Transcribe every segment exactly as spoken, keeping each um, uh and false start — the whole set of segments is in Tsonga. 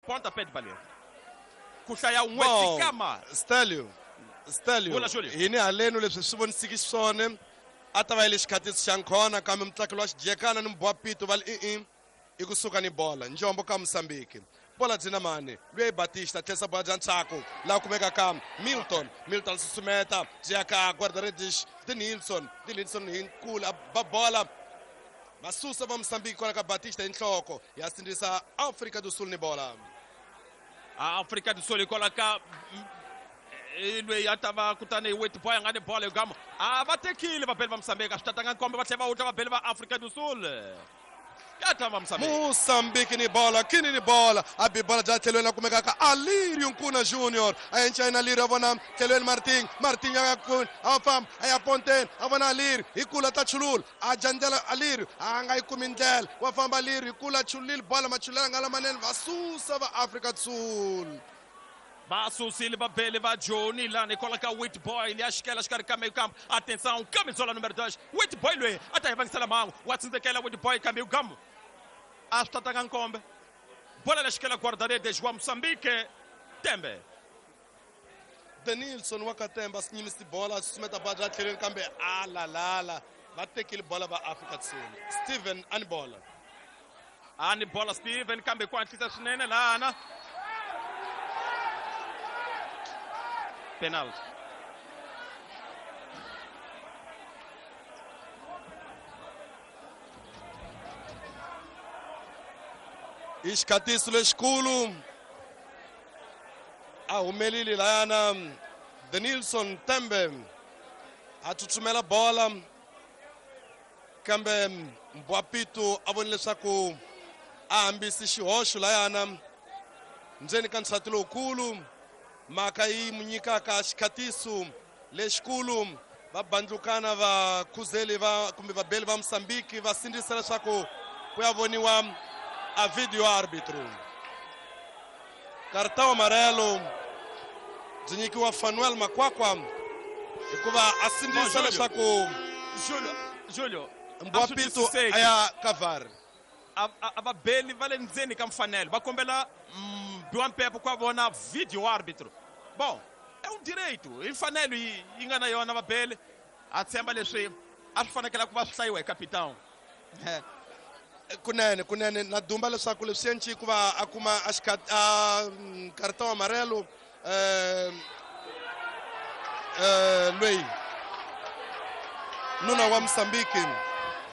Pontapé de baleia. Ku hlaya un'we tsikama. Stelio Stelio Vula, Julio. Hini haleno leswi swi vonisiki xiswona a ta va yi le xikhatisi xa nkhona kambe mutlakelo wa xijekana ni mbwapito va li i-i i kusuka ni bola njombo ka Mozambique bola byi na mani loyi Batista tlherisa bola bya ntshaku laha kumekaka Milton Milton susumeta byi ya ka guarda-redes de Nilsson de Nilsson hi nkulu a ba bola va susa va Mozambique kwala ka Batista hi nhloko ya sindzisa Afrika do Sul ni bola. Afrika do Sul hikwalaho ka loyi a ta va kutani Wit Boy a nga ni bola gama a va tekile vabeli va Mozambique a swi tatanga nkombe va tlhela va wutla vabeli va Afrika do Sul ya ta va Mozambique. Mozambique ni bola kini ni bola a bi bola bya tlhelweni la kumekaka Alirio Nkuna Junior a enca na Alirio a vona tlhelweni Martin Martin ya a famba a ya ponteni a vona Alirio hi kula ta chulula a jandzela Alirio a nga yi kumi ndlela wa famba Alirio hi kula chulile bola machulela nga lamanene va susa va Afrika do Sul. Va susile vabeli va Joni lani hikwalaho ka Wit Boy liya xikela xikarhi ka meio campo. Atenção, camisola número dois. Wit Boy loyi a ta hi vangisela mhangu wa tsindzekela Wit Boy kambe gamu a swi tatanga nkombe bola la xikela guarda-redes wa Mozambique Tembe. Denilson wa ka Tembe a swi nyimisi bola a susumeta bola bya tlhelweni kambe a lalala va tekile bola va Afrika do Sul. Steven a ni bola a ni bola Steven kambe ku hatlisa swinene lana. Penalty. I xikhatiso lexikulu a humelile layana Denilson Tembe a tsutsumela bola kambe Mbwapito a vone leswaku a hambisi xihoxo layana ndzeni ka nsati lowukulu mhaka yi mu nyikaka xikhatiso lexikulu va bandlukana va khuzeli va kumbe vabeli va Mozambique va sindzisa leswaku ku ya voniwa a video árbitro. Cartão amarelo byi nyikiwa Fanuel Makwakwa hikuva a sindzisa leswaku Julio Julio Mbwapito a ya ka V A R. A va beli va le ndzeni ka mfanelo va kombela biwa mpepo ku vona video árbitro. Bom, é um direito, i mfanelo yi yi nga na yona vabeli a tshemba leswi a swi fanekela ku va swi hlayiwa hi capitão. Kunene kunene na dumba leswaku leswi enci ku va a kuma a a cartão amarelo eh eh loyi nuna wa Mozambique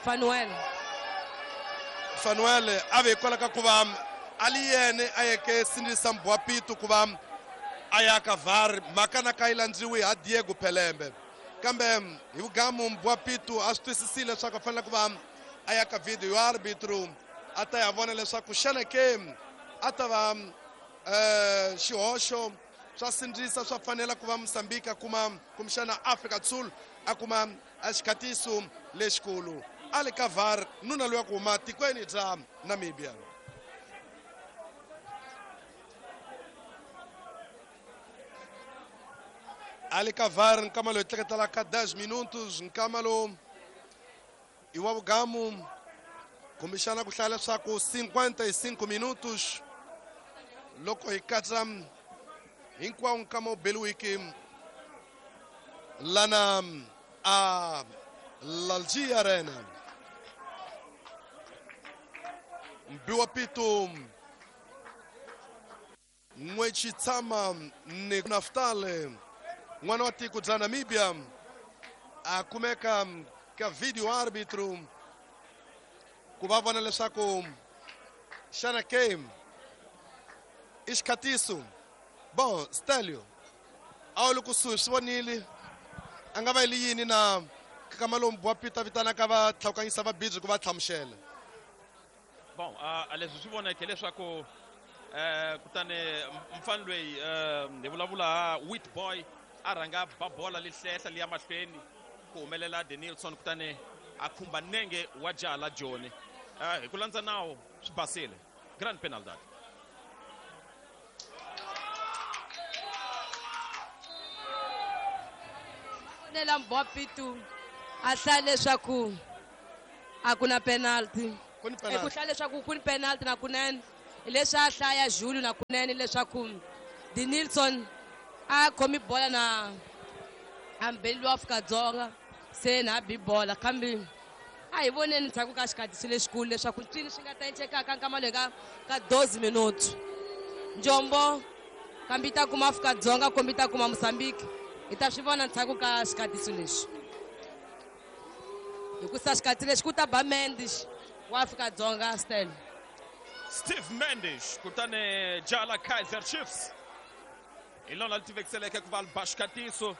Fanuel Fanuel a ve hikwalaho ka ku va a li yene a yeke sindzisa Mbwapito ku va a ya ka V A R mhaka na ka yi landziwi ha Diego Pelembe kambe hi vugamu Mbwapito a swi twisisile leswaku a fanele ku va a ya ka video árbitro a ta ya vona leswaku xana ke a ta va eh xihoxo swa sindzisa swa fanela ku va Mozambique a kuma kumbexana Afrika do Sul a kuma a xikhatiso lexikulu a le ka V A R nuna loyi a ku huma tikweni bya Namibia. A le ka V A R nkama loyi tleketelaka dez minutos nkama lowu i wa vugamu kumbexana ku hlaya leswaku cinquenta e cinco minutos loko hi katsa hinkwawo nkama wu beliwiki lana a Lalji Arena. Mbiwapito N'wechitshama ni Naftale n'wana wa tiko bya Namibia a kumeka ka video árbitro ku va vona leswaku xana game i xikhatiso. Bon, Stelio a wu le kusuhi swi vonile a nga va yi li yini na kama lowu Mbwapito a vitanaka va tlhawukanyisa va bidzi ku va hlamusela. Bom, a leswi swi voneke leswaku eh kutani mfana loyi hi vulavula Wit Boy a rhanga ba bola lihlehla liya mahlweni ku humelela Denilson kutani a khumba nenge wa jaha la Joni hi ku landza nawu swi basile grand penalty. Nela Mbwapito a hlaya leswaku a ku na penalty. Ku ni Ku hlaya leswaku ku ni penalty na kunene Leswi a hlaya Julio na kunene leswaku Denilson a khomi bola na ambeli wa Afrika-Dzonga se na bi bola kambe a hi voneni ndzhaku ka xikhatisi lexikulu leswaku ncini swi nga ta encekaka nkama loyi ka ka doze minuto. Njombo kambe yi ta kuma Afrika-Dzonga kumbe yi ta kuma Mozambique hi ta swi vona ndzhaku ka xikhatisi lexi. Hikusa xikhatsi lexi ku ta ba Mendes wa Afrika-Dzonga Stan. Steve Mendes kutani jala Kaizer Chiefs hi lona li tivekiseleke ku va li ba xikatiso.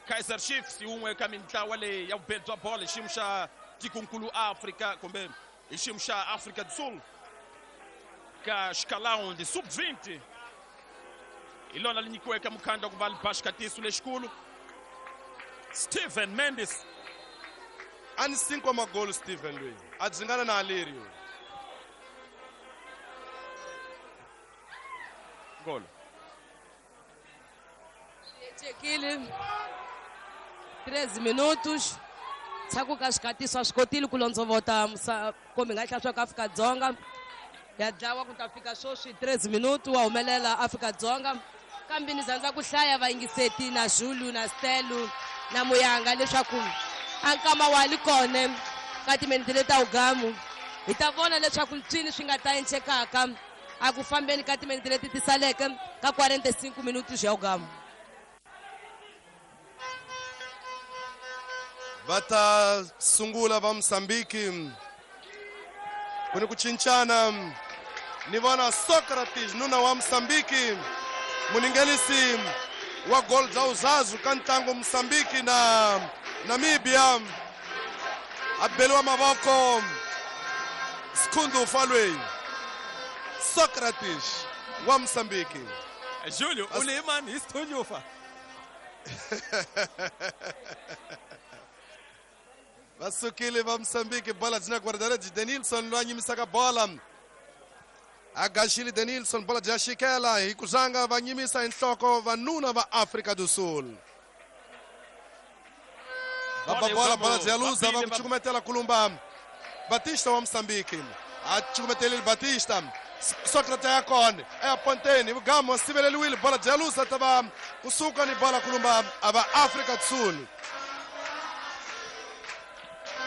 Kaizer Chiefs yi wun'we ka mintlawa leyi ya vubeli bya bolo hi xiyimo xa tikonkulu Afrika kumbe hi xiyimo xa Afrika do Sul ka xikalawu sub vinte hi lona li nyikiweke mukhandla ku va li ba xikatiso lexikulu. Steven Mendes a ni cinco magolo Steven loyi a dzingana na Alirio. Golo Chekile treze minutos ndzhaku ka xikatiso a swi kotile ku londzovota kumbe nga hlaya swa ku Afrika-Dzonga ya dlawa ku ta fika sweswi treze minutos wa humelela Afrika-Dzonga kambe ni zandza ku hlaya vayingiseti na Zulu na Stelu na Muyanga leswaku a nkama wa li kona ka timinete leti ta ugamu hi ta vona leswaku ncini swi nga ta encekaka a ku fambeni ka timinete leti ti saleke ka quarenta e cinco minutos ya ugamu. Va ta sungula va Mozambique ku ni ku cincana ni vona Socrates nuna wa Mozambique muningelisi wa gol bya uzazu ka ntlangu Mozambique na Namibia a beliwa mavoko Sikhundu Falwei Socrates wa Mozambique. Julio u le mani hi Sikhundu. Va sukile va Mozambique bola byi na guarda-redes Denilson loyi a nyimisaka bola a gaxile Denilson bola bya xikela hi ku zanga va nyimisa hi nhloko vanuna va Afrika do Sul. Va ba bola bola bya luza va ku cukumetela kulumba Batista wa Mozambique a cukumetelile Batista Socrates ya kona eya ponteni vugamo wa siveleliwile bola bya luza ta va kusuka ni bola kulumba a va Afrika do Sul.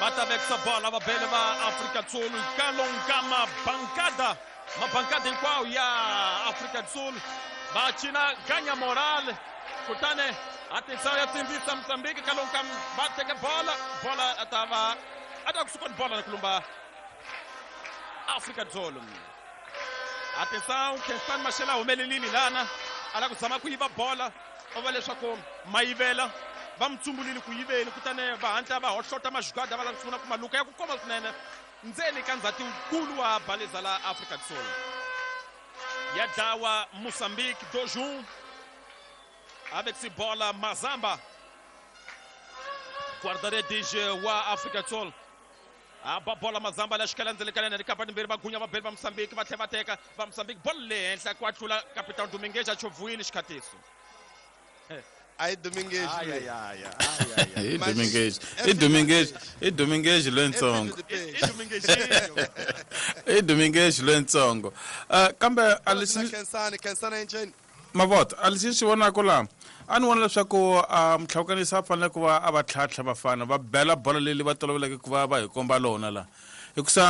Va ta vekisa bola va bele va Afrika do Sul kalonga mabankada mabankada hinkwawo ya Afrika do Sul va cina ganya moral kutani atenção ya tsindzisa Mozambique kalonga va teka bola bola a ta va a ta kusuka ni bola na kulumba Afrika do Sul. Atenção Khensani Mashele a humelelile lana a la ku zama ku yiva bola o va leswaku mayivela va mi tsumbulile ku yiveni kutani va hatla va hohlota majugada va lava ku sungula ku maluka ya ku koma swinene ndzeni ka ndzhati wukulu wa baleza la Afrika do Sul. Ya dlawa Mozambique dois um avec si bola Mazamba guarda-redes wa Afrika do Sul a ba bola Mazamba la xikela ndzeni ka yena rikapa timbirhi va gunya va beli va Mozambique va tlhela va teka va Mozambique bolo le henhla ku a tlula Capitão Domingues a chovhuwile xikhatiso. Ai Domingues. Ai ai ai ai ai. I Domingues. I Domingues, i Domingues lwentsongo. I Domingues. I Domingues lwentsongo. Uh kambe a lexi Khensani Khensani enceni. Mavota a lexi xi vonaka laha a ni vona leswaku mutlhavukanisi a fanele ku va a va tlhantlha vafana va bela bolo leyi va toloveleke ku va va hi komba lona laha hikusa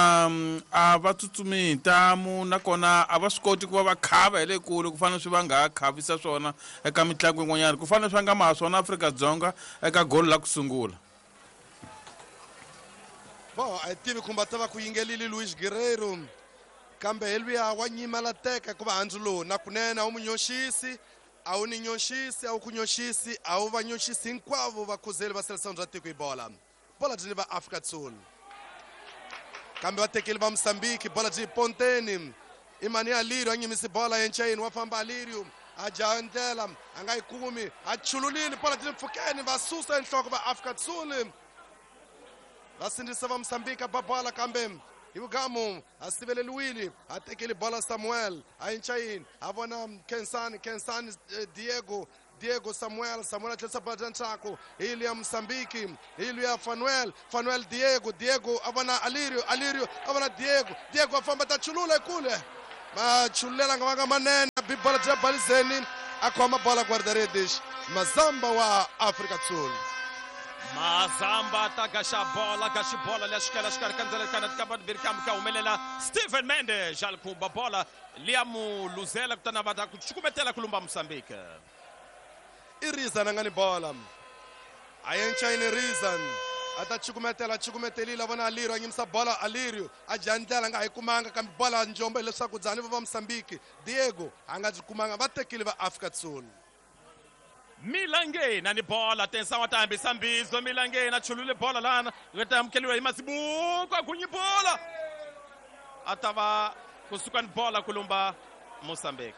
a va tsutsumi hi ntamu nakona a va swi koti ku va va khava hi le kule ku fana swi va nga ha khavisa swona eka mitlangu yin'wanyana ku fana swi nga maha swona Afrika-Dzonga eka golo la ku sungula. Bon a hi tivi kumbe ta va ku yingelile Luis Guerreiro kambe hi luya wa nyimela teka ku va handzu lowu na kunene a wu mu nyoxisi a wu ni nyoxisi a wu ku nyoxisi a wu va nyoxisi hinkwavo vakhuzeli va seleção bya tiko hi bola bola byi ni va Afrika do Sul kambe va tekile va Mozambique bola byi ponteni i mani Alirio a nyimisi bola enceni wa famba Alirio a jaha ndlela a nga yi kumi a chululile bola byi le mpfhukeni va susa enhloko va Afrika do Sul va sindzisa va Mozambique a ba bola kambe hi vugamu a siveleliwile a tekile bola Samuel a encayini a vona Khensani Khensani Diego Diego Samuel Samuel a tlherisa bola bya ntshaku hi luya Mozambique hi luya Fanuel Fanuel Diego Diego a vona Alirio Alirio a vona Diego Diego a famba ta chulula ekule Machulela nga vanga manene bi bola bya balizeni a khoma bola guarda-redes Mazamba wa Afrika Sul. Mazamba ta gaxa bola gaxi bola leya xikela xikarhi ka ndlela kana ka vanhu kambe ka humelela Steven Mendes a khumba bola liya mu luzela kutani va ta ku cukumetela ku lumba Mozambique. I Rizan a nga ni bola a yenchayini Rizan a ta cukumetela cukumetelile vona Alirio a nyimisa bola Alirio a dya ndlela a nga ha yi kumanga kambe bola njombo hileswaku dzani va va Mozambique Diego a nga byi kumanga va tekile va Afrika Sul. Milangena ni bola atenção a hambisa mbizo Milangena chulule bola lana ta amukeliwa hi Masibuko a gunyi bola a ta va kusuka ni bola ku lumba Mozambique.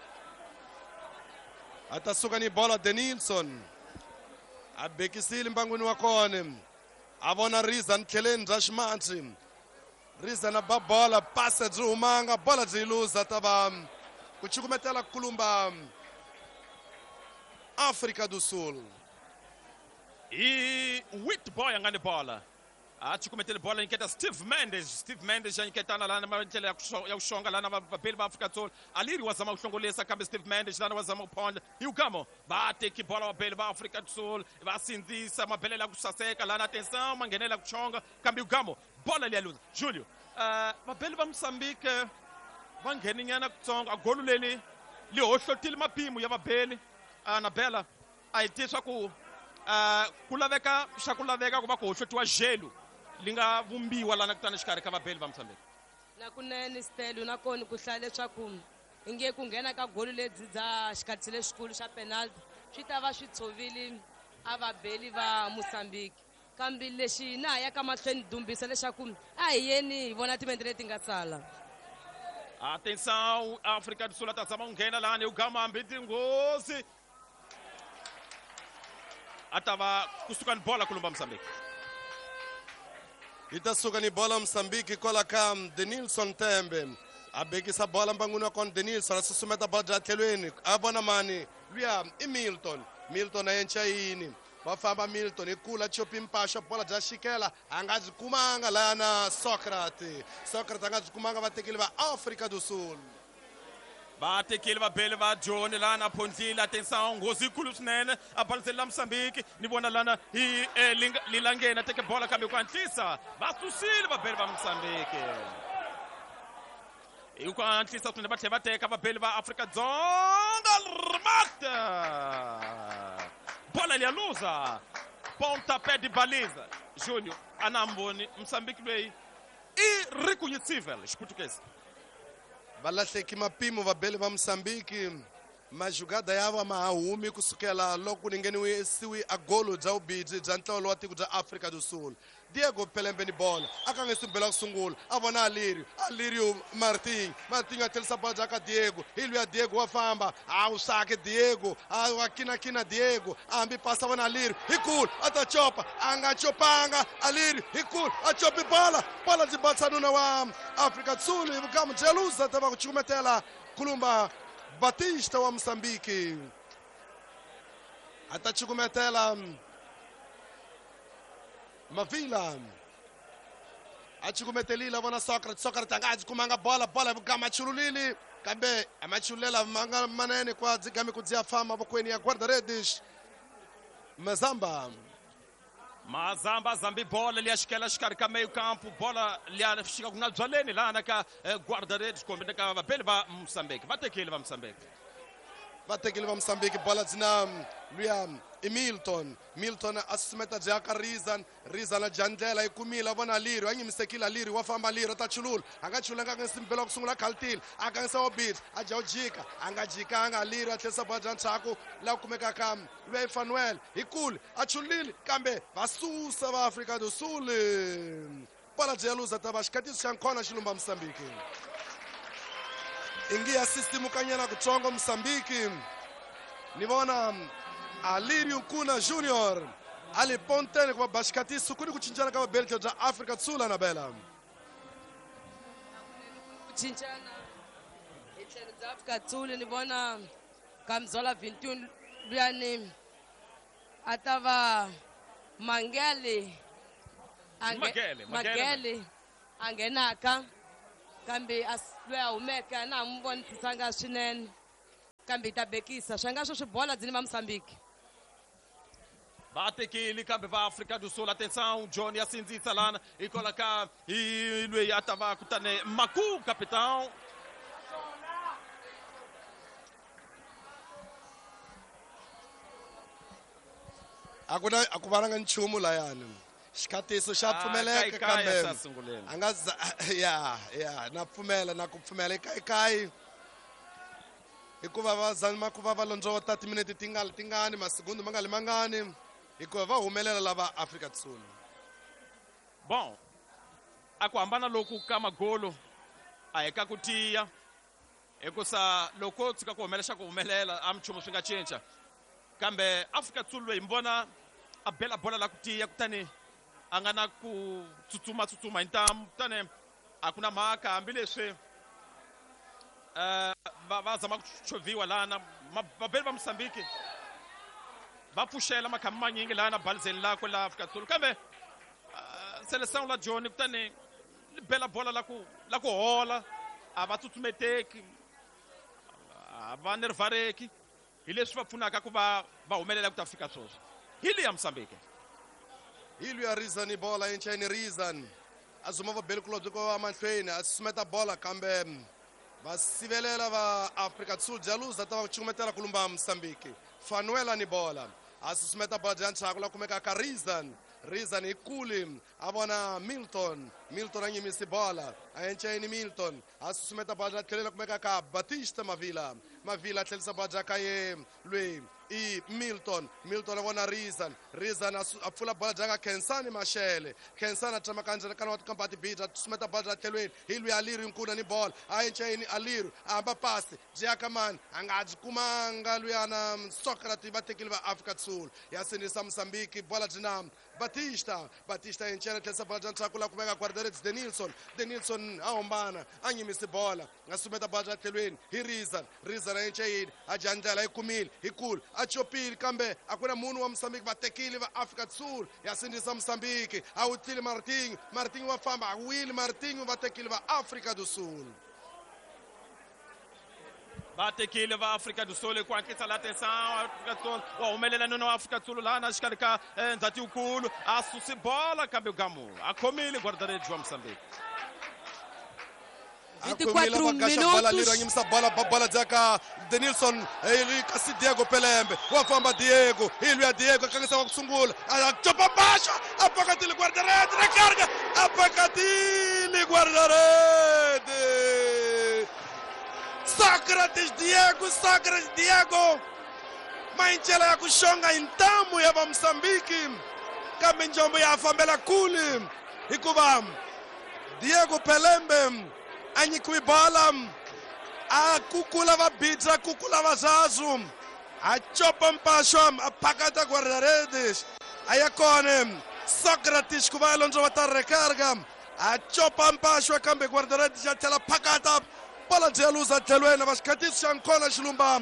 A ta suka ni bola Denilson a bekisile mbangwini wa kona a vona Rizan tlheleni bya ximatsi Rizan a ba bola pasa byi humanga bola byi luza ta va ku cukumetela ku lumba África do Sul. I Witboy a nga ni bola a cukumetele bola nyiketa Steve Mendes Steve Mendes a nyiketana lana ndlela ya ku xonga lana vabeli va Afrika Sul Aliri wa zama ku hlongolisa kambe Steve Mendes lana wa zama ku phondla hi ugamo va teki bola vabeli va Afrika Sul va sindzisa mabelela ku saseka lana atenção ma nghenela ku xonga kambe ugamo bola liya luza Julio uh, vabeli va Mozambique va ngheninyana kutsongo a golu leli li hohlotile mapimo ya vabeli Anabela a hi tivi swa ku uh, ku laveka xa ku laveka ku va ku hohlotiwa jelu li nga vumbiwa lana kutani xikarhi ka vabeli va Mozambique. Na kunene Stelo na kona ku hlaya leswaku inge ku nghena ka golu lebyi bya xikhatsi lexikulu xa penalty swi ta va swi tshovile a vabeli va Mozambique kambe lexi na ha ya ka mahlweni dumbisa leswaku a hi yeni hi vona timente leti nga sala. Atenção África do Sul ta zama ku nghena lani ugama hambi tinghozi a ta va kusuka ni bola ku lumba Mozambique. Yi ta suka ni bola Mozambique kwala ka Denilson Tembe a bekisa bola mbangwini wa kona Denilson a susumeta bola bya tlhelweni a vona mani luya i Milton Milton a yenca yini va famba Milton hi kula chopi mpaxo bola bya xikela a nga byi kumanga lana Socrates Socrates a nga byi kumanga va tekile va Afrika do Sul. Va tekile vabeli va Joni lana phondlile atenção nghozi yikulu swinene a baliseli Mozambique ni vona lana hi eh, Lilangeni teke bola kambe ku hatlisa va susile vabeli va Mozambique hi ku hatlisa swinene va tlhela va teka vabeli va Afrika Dzonga remata bola liya luza pontapé de baliza Júnior a na mboni Mozambique loyi i reconhecível xiputukezi. Va lahleki mapimo vabeli va Mozambique majugada ya va ma ha humi kusukela loko ku nghenisiwi a golo bya vubidzi bya ntlawa wa tiko bya Afrika do Sul. Diego Pelembe ni bola a ka nge simbela ku sungula a vona Alirio Alirio Martin Martin a tlherisa bola bya ka Diego hi luya Diego wa famba a wu sake Diego a wa kinakina Diego a hambi pasa vona Alirio hi kulu a ta chopa a nga chopanga Alirio hi kulu a chopi bola bola byi batsa nuna wa Afrika Sul hi vukamu bya luza ta va ku cukumetela kulumba Batista wa Mozambique a ta cukumetela Mavila a cukumetelile vona Socrates Socrates a nga ha byi kumanga bola bola vugama chululile kambe a ma chululela manga manene kwa dzigami ku dziya famba mavokweni ya guarda-redes Mazamba. Mazamba zambi bola liya xikela xikarhi ka meio campo bola liya xika ku nga byaleni lana ka guarda-redes kumbe ka vabeli va Mozambique va tekile va Mozambique va tekile va Mozambique bola dzina luya i Milton Milton a susumeta bya ka Rizan Rizan a dya ndlela yi kumile a vona Alirio a nyimisekile Alirio wa famba Alirio ta chulula a nga chulanga a nga simbela ku sungula khaltile a kangisa wa bit a dya u jika a nga jikanga Alirio a tlherisa bola bya ndzhaku laha ku kumekaka luya i Fanuel hi kule a chulile kambe va susa va Afrika do Sul bola bya luza ta va xikhatiso xa nkhona xi lumba Mozambique ingi ya sistimukanyana kutsongo Mozambique ni vona Alirio Nkuna Junior ali pontene ku va ba xikhatiso ku ni ku cincana ka vabeli bya Afrika Sul Anabela. Ku cincana hi tlhelo bya Afrika Sul ni vona Kamzola vintun luyani a ta va Mangele Magele Magele a nghenaka Kambe a loyi a humeke a na ha n'wi vonisisanga swinene kambe hi ta bekisa swa nga sweswi bola byi ni va Mozambique. Va tekile kambe va Afrika do Sul, atenção, John ya sindzisa lana hikwalaho ka hi loyi a ta va kutani Maku capitão. A ku na a ku vananga nchumu layani. Xikhatiso xa pfumeleka kambe a nga ya ya na pfumela na ku pfumela ekayi hikuva va zama ku va va londzovota timinete ti nga tingani masigundu ma nga li mangani hikuva va humelela lava Afrika Sul. Bon, a ku hambana loku ka magolo a hi ka ku tiya hikusa loko tshuka ku humelela xa ku humelela a minchumu swi nga cinca kambe Afrika Sul loyi mi vona a bela bola la ku tiya kutani a nga na ku tsutsuma tsutsuma hi ntamu kutani a ku na mhaka hambileswi va va zama ku chovhiwa lana vabeli va Mozambique va pfuxela makhamba manyingi lana balizeni lakwe la Afrika Sul kambe Seleção la John kutani li bela bola la ku la ku hola a va tsutsumeteki a va nervareki hi leswi va pfunaka ku va va humelela ku ta fika sweswi hi leya Mozambique. Hi luya Rizan ni bola encheni Rizan a zuma va beli kulobye ko va mahlweni a susumeta bola kambe va sivelela va Afrika Sul Jaluza ta va chukumetela ku lumba Mozambique. Fanuela ni bola a susumeta bola bya ntshaku la kumeka ka Rizan. Rizan hi kuli a vona Milton. Milton a nyimisi bola a encheni Milton a susumeta bola bya tlhelela kumeka ka Batista Mavila. Mavila a tlhelisa bola bya ka ye lweyi i Milton. Milton a vona Rizan. Rizan a pfula bola bya ka Khensani Mashele. Khensani a tsamaka ndzeni ka wa tikampa tibita a susumeta bola bya tlhelweni hi lweyi Aliru Nkuna ni bola a encheni Aliru a hamba pasi byi ya ka mani a nga byi kumanga luyana Socrates va tekile va Afrika Sul ya sindzisa Mozambique bola byi na Batista. Batista enchela tlhelisa bola bya ntshaku la kumeka guarda-redes Denilson. Denilson a hombana a nyimisi bola a sumeta bola bya tlhelweni hi Rizan. Rizan a encheyini a dya ndlela yi kumile hi kulu a chopile kambe a ku na munhu wa Mozambique va tekile va Afrika Sul ya sindzisa Mozambique a wutlile Martinho. Martinho wa famba a wile Martinho va tekile va Afrika do Sul. Va tekile va Afrika do Sul ku hatlisa la atenção Afrika do Sul wa humelela nuna wa Afrika do Sul lana xikarhi ka ndzhati yikulu a susi bola kambe gamu a khomile guarda-redes wa Mozambique. vinte e quatro minutos. Nyimisa bola bola dzaka Denilson kasi Diego Pelembe wa famba Diego hi luya Diego akangisa wa ku sungula a chopa baxa a pakatile guarda-redes recarga a pakatile guarda-redes Sócrates Diego, Sócrates Diego maincela ya ku xonga hi ntamu ya va Mozambique kambe njombo ya fambela kule hikuva Diego Pelembe a nyikiwe bola a kukula va bidza kukula va zazu a chopa mpaxo a phakata guarda-redes a ya kona Sócrates ku va londzo va ta recarga a chopa mpaxo kambe guarda-redes ya tlhela phakata bola byi ya luza tlhelweni va xikhatiso xa nkona xilumba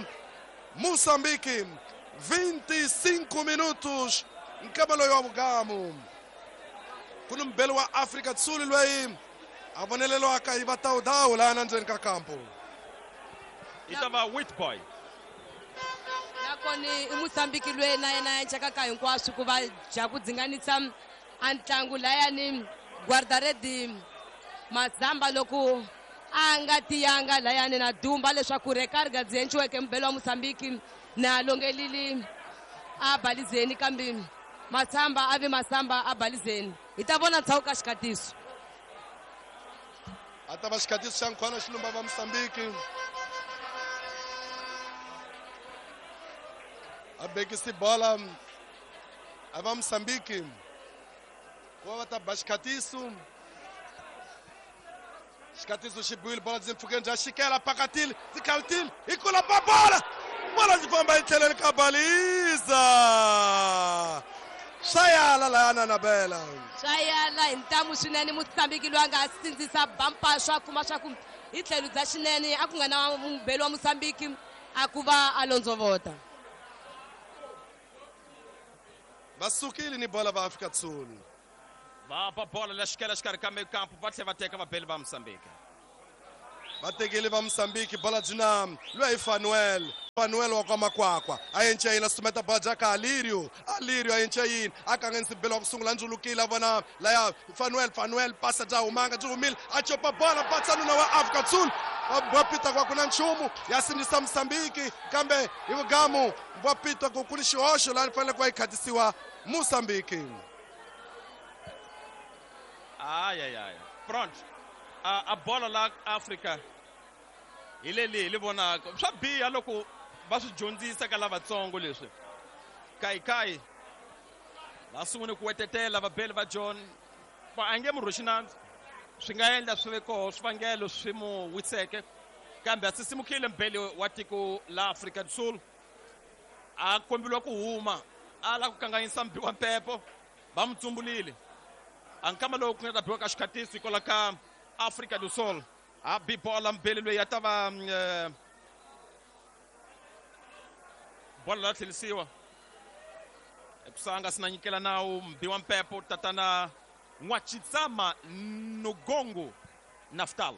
Mozambique. Vinte e cinco minutos nkama loyi wa vugamu ku ni mubeli wa Afrika Sul loyi a vonelelwaka hi va tawudawu laha ndzeni ka kampo i ta va Witboy nakona i Mozambique loyi na yena a encakaka hinkwaswo ku va dya ku dzinganisa a ntlangu layani guarda-redes Mazamba loko a nga tiyanga layani na dumba leswaku recarga byi enciweke mubelo wa Mozambique na longelili a balizeni kambe Masamba a vi Masamba a balizeni hi ta vona ntshawu ka xikhatiso a ta va xikhatiso xa nkhwana xilumba va Mozambique a bekisi bola a va Mozambique ku va va ta ba xikhatiso. Xikhatiso xi biwile bola byi mpfhukeni bya xikela pakatile byi khalutile hi kula ba bola bola byi famba hi tlheleni ka baliza swa yala layana Nabela swa yala hi ntamu swinene Mozambique loyi a nga sindzisa bampaswa a kuma swa ku hi tlhelo bya xinene a ku nga na mubeli wa Mozambique a ku va a londzovota va sukile ni bola va Afrika Sul va ba bola la xikela xikarhi ka mikampu va tlhela va teka vabeli va Mozambique. Va tekile va Mozambique bola byi na loyi Fanuel. Fanuel wa kwa Makwakwa a yenca yini a sumeta bola bya ka Alirio. Alirio a yenca yini a kanganyisa belo wa ku sungula ndzulukile a vona laya Fanuel. Fanuel pasa bya humanga byi humile a copa bola patsa nuna wa Afrika Sul. Va pita kwa kuna nchumu ya sindzisa Mozambique kambe hi vugamu va pita ku ku ni xihoxo laha fanele ku va yi khatisiwa Mozambique. Ay ay ay front a, a bola la Afrika hi leli hi li vonaka swa biha loko va swi dyondzisa ka lavatsongo leswi kayikai va sungule ku wetetela vabeli va John va a nge mu rhwexi nandzu swi nga endla swi ve koho swivangelo swi mu wiseke kambe a sisimukile mbeli wa tiko la Afrika do Sul a kombeliwa ku huma a lava ku kanganyisa mbi wa mpepo va mu tsumbulile a nkama lowu ku nga ta biwa ka xikhatiso hikwalaho ka Afrika do Sul a bi bola mbeli loyi a ta va bola la tlherisiwa ekusanga sina nyikela nawu mbi wa mpepo tatana N'wachitsama Nugongo Naftal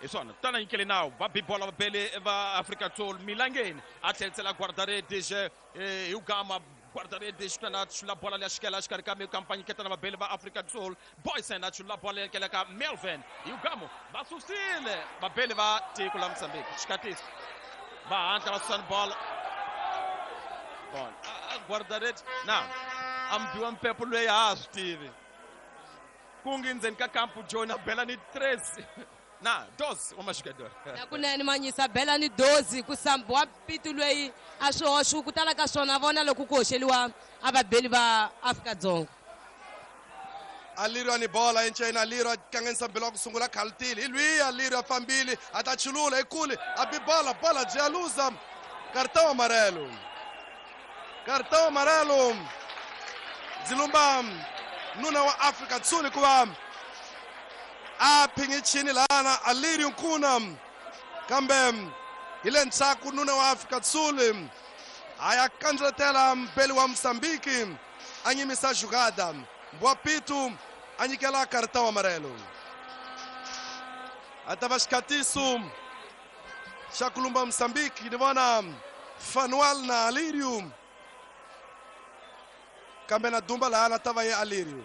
hi swona tana nyikele nawu va bi bola vabeli va Afrika Sul Milangeni a tlherisela guarda-redes hi ugama guarda-redes tana chula bola leya xikela xikarhi ka mikampanyiketana vabeli va Afrika Sul Boysen a chula bola leya ka Melvin hi ugamo va susile vabeli va tiko la Mozambique xikatisi va hatla va susani bola bon guarda-redes na ambiwa mpepo loyi a ha swi tivi ku ngi ndzeni ka kampu John a bela ni tres na dos wa maxikador na kunene manyisa bela ni dozi ku sambiwa pitu loyi a swi hoxi ku tala ka swona vona loko ku hoxeliwa a vabeli va Afrika-Dzonga. Alirio ni bola enchena Alirio kanganyisa mbelo wa ku sungula khalutile hi lwiya Alirio a fambile a ta chulula hi kule a bi bola bola byi ya luza cartão amarelo. Cartão amarelo byi lumba nuna wa Afrika Sul hikuva a phingichini lana Alirio Nkuna kambe hi le ndzhaku nuna wa Afrika Sul a ya kandzeletela mbeli wa Mozambique a nyimisa jugada Mboapitu a nyikela cartão amarelo. A ta va xikhatiso xa ku lumba Mozambique ni vona Fanuel na Alirio kambe na dumba laha ta va ye Alirio.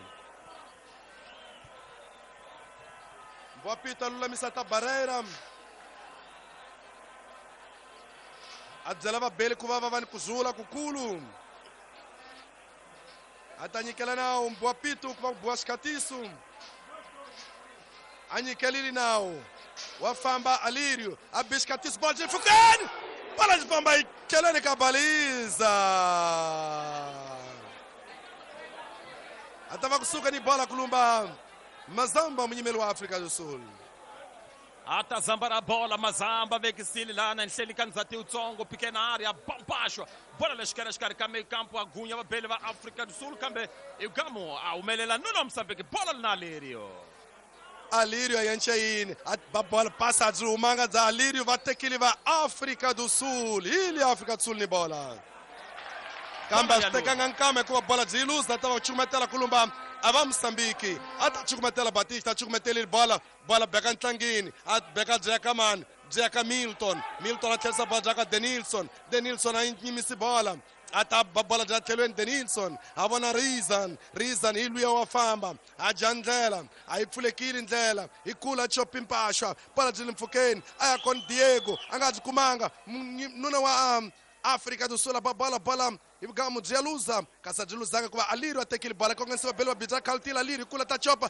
Mboapitu a lulamisa ta barreira a byela vabeli ku va va va ni ku zula kukulu a ta nyikela nawu Mboapitu ku va ku biwa xikhatiso a nyikelile nawu wa famba Alirio a bi xikhatiso bola byi pfukeni bola byi famba yi tlheleni ka baliza a ta va kusuka ni bola ku lumba Mazamba munyimeli wa Afrika do Sul. A ta zamba ra bola Mazamba vekisile lana nhleli ka ndzhati wutsongo pikena area bampaxwa bola lexikarhi xikarhi ka mikampo a gunya vabeli va Afrika do Sul kambe Igamo a humelela nuna Mozambique bola na Alirio. Alirio a yenca yini a ba bola pasa byi humanga bya Alirio va tekile va Afrika do Sul hi le Afrika do Sul ni bola kambe a swi tekanga nkama hikuva bola byi yi luza ta va cukumetela ku lumba a va Mozambique a ta cukumetela Batista a cukumetelile bola bola beka ntlangini a beka byi ya ka mani byi ya ka Milton. Milton a tlherisa bola bya ka Denilson. Denilson a nyimisi bola a ta ba bola bya tlhelweni Denilson a vona Rizan. Rizan hi luya wa famba a dya ndlela a yi pfulekile ndlela hi kula chopi mpaxwa bola byi le mpfhukeni a ya kona Diego a nga byi kumanga nuna wa um, Afrika do Sul ba bola bola hi vugamu byi ya luza kasi a byi luzanga hikuva Alirio a tekile bola kongomisiwa beli va bija khalutile Alirio kula ta chopa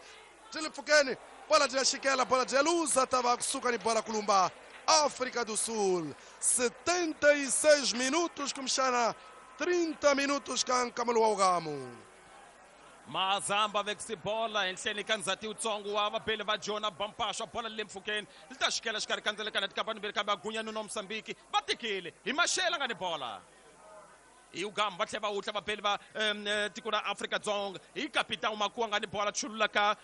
byi le mpfhukeni bola byi ya xikela bola byi ya luza ta va kusuka ni bola ku lumba Afrika do Sul. setenta e seis minutos kumbexana trinta minutos ka nkamelo wa wugamu. Mazamba vekisi bola enhleni ka ndzhati wutsongo wa vabeli va Jona bampaxwa bola le mpfhukeni li ta xikela xikarhi ka ndzelekana tikapani mbirhi kambe a gunya nuna Mozambique va tekile hi maxela nga ni bola hi ugamba va tlhela va wutla vabeli va tiko ra Afrika-Dzonga hi kapitão Makuwa nga ni bola chulula ka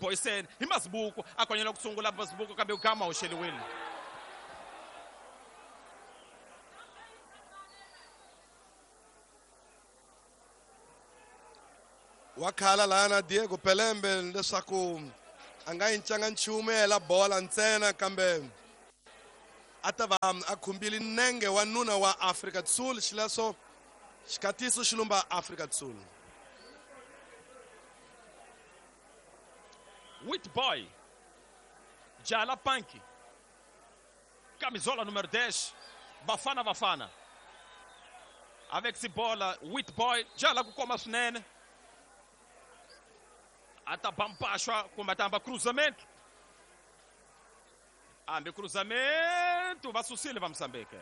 Boysen hi Mazibuko a konyela ku sungula Mazibuko kambe ugama wu xeliwile. Wa khala lana Diego Pelembe leswaku A nga yincanga nchumu yela bola ntsena kambe a ta va a khumbile nenge wa nuna wa Afrika do Sul, xileswo xikatiso xi lumba Afrika do Sul. Wit Boy, Jala Panki, camisola número dez, Bafana Bafana. Avec si bola, Wit Boy, Jala ku koma swinene. A ta ba mpaxwa kumbe a ta hamba cruzamento. Hambi cruzamento, va susile va Mozambique.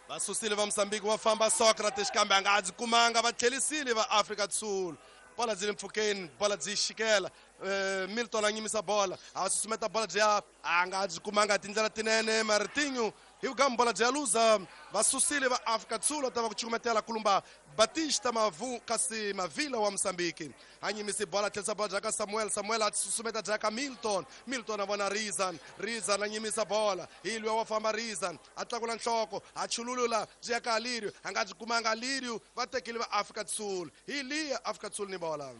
Va susile va Mozambique va famba Socrates kambe a nga byi kumanga, va tlhelisile va Afrika do Sul. Bola byi le mpfhukeni, bola byi xikela. Eh, Milton a nyimisa bola, a susumeta bola byi ya a nga byi kumanga tindlela tinene. Martinho hi vugamu bola byi ya luza, va susile va Afrika do Sul, va ta va ku cukumetela kulumba Batista Mavu kasi Mavila wa Mozambique. A nyimisi bola, tlherisa bola bya ka Samuel, Samuel a susumeta bya ka Milton, Milton a vona Rizan, Rizan a nyimisa bola, hi luya wa famba Rizan, a tlakula nhloko, a chululula byi ya ka Alirio, a nga byi kumanga Alirio, va tekile va Afrika do Sul. Hi liya Afrika do Sul ni bola.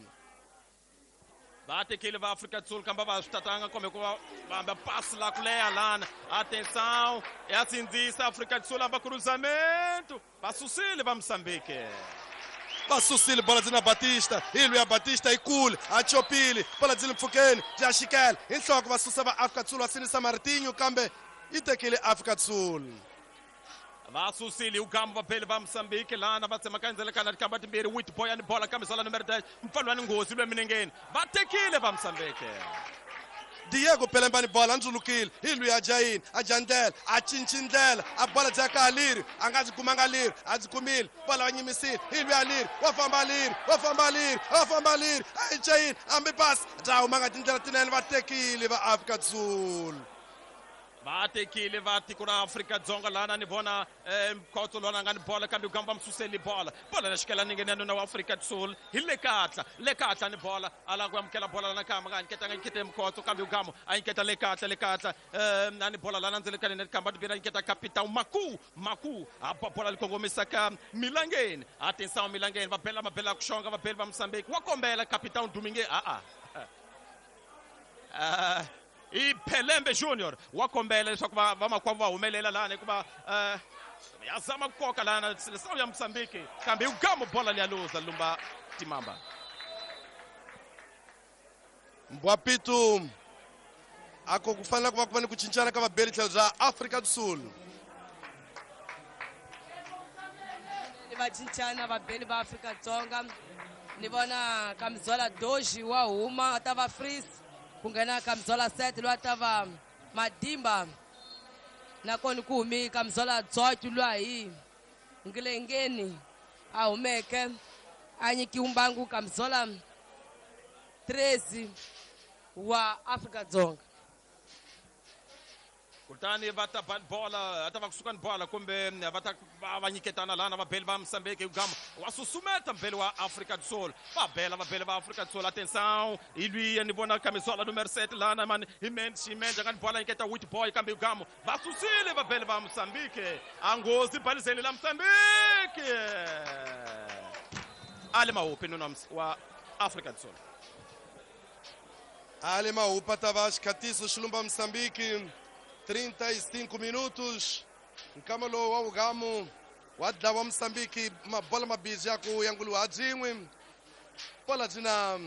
Va tekile va Afrika do Sul kambe va swi tatanga kumbe ku va va hamba pasi la ku leha lana. Atenção, ya sindzisa Afrika do Sul hamba cruzamento, va susile va Mozambique. Va susile bola byi na Batista, hi luya Batista yi kule, a chopile, bola byi le mpfhukeni, bya xikela hi nhloko, va susa va Afrika do Sul, va sindzisa Martinho kambe yi tekile Afrika do Sul. Va susile ugambo va va Mozambique lana, va tsemakanya ndzelekana tikamba timbirhi, Wit Boy ni bola kambisala numero dez, mfana wa ni nghozi lwe minengeni, va tekile va Mozambique. Diego Pelembe ni bola, a ndzulukile, hi luya a dya yini, a dya ndlela, a cinci ndlela, a bola bya ka Aliri, a nga byi kumanga Aliri, a byi kumile, bola va nyimisile, hi luya Aliri, wa famba Aliri, wa famba Aliri, wa famba Aliri, a yi dya yini, hambi pasi, bya humanga tindlela tinene, va tekile va Afrika do Sul. Va tekile va tiko ra Afrika Dzonga lana, ni vona Mkhotso lona nga ni bola kambe ugamba msuseli bola. Bola la xikela ninge nuna wa Afrika do Sul hi le katla, le katla ni bola, a lava ku amukela bola lana kamba nga nyiketa nga nyikete Mkhotso kambe ugamba a nyiketa le katla, le katla, eh, na ni bola lana ndzele ni kamba tibira nyiketa Capitão Maku, Maku a ba bola li kongomisa ka Milangeni. Atenção Milangeni, va bela mabela ku xonga, va bela va Mozambique, wa kombela Capitão Domingue, a a. Ah, i Pelembe Junior wa kombela leswaku va vamakwavo va humelela lana hikuva eh, ya zama ku koka lana seleção ya Mozambique kambe ugamo bola liya luza lumba timamba. Mbwapitu ako ku fanele ku va ku va ni ku cincana ka vabeli tlhelo bya Afrika do Sul. Ni va cincana vabeli va Afrika Dzonga, ni vona Kamizola Doji wa huma a ta va Freeze, ku nghena Kamizola Set loyi a ta va Madimba, nakona ku humi Kamizola Dzotyu luya hi Ngilengeni a humeke a nyikiwa mbangu Kamizola treze wa Afrika Dzonga. Kutani va ta ba bola, ta va kusuka ni bola kumbe va ta va va nyiketana lana vabeli va Mozambique ugama wa susumeta mbeli wa Afrika do Sul, va bela va bela va Afrika do Sul. Atenção, hi luya ni vona camisola número sete lana mani hi Mendes, hi Mendes nga ni bola nyiketa Wit Boy kambe ugama va susile va bela va Mozambique, a nghozi balizeni la Mozambique. Ali Mahupi nuna wa Afrika do Sul. Ali Mahupa tava xikatiso xilumba Mozambique. trinta e cinco minutos. Nkamalo wa ugamu wa dlawa Mozambique, mabola mabisi ya ku yanguliwa ha byin'we. Bola byi na